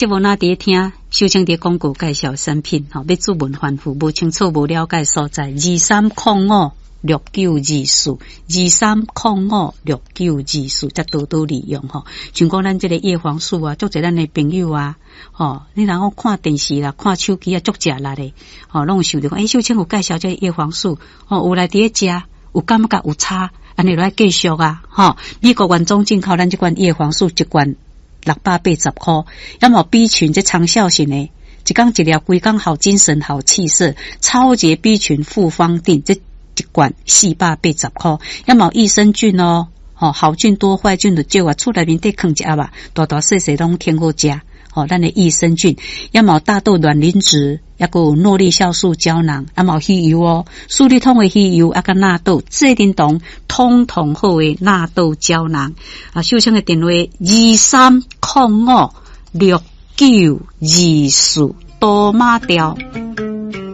節目若佇咧聽，秀清佇廣告介紹產品，吼，欲諮問反覆無清楚、無了解所在，23056924，23056924，才多多利用吼。像講咱這个葉黃素啊，足濟咱的朋友啊，吼，你若講看電視啦、看手機啊，足食力的，吼，攏有想著講，欸，秀清有介紹這个葉黃素，吼，有來佇咧食，有感覺有差，按呢就愛繼續啊，吼。美國原裝進口咱這款葉黃素一罐680箍，抑嘛 B 群這長效型的，一工一粒，規工好精神、好氣色，超級 B 群複方錠，這一罐480箍，抑嘛益生菌哦，吼，好菌多壞菌就少啊，厝內面底囥一盒啊，大大細細攏挺好食，吼，咱的益生菌，抑嘛大豆卵磷脂，抑閣有諾麗酵素膠囊，抑嘛魚油哦，舒利通的魚油，抑佮納豆，這叮當通通好的納豆膠囊。啊，秀清的電話23056924，多馬調。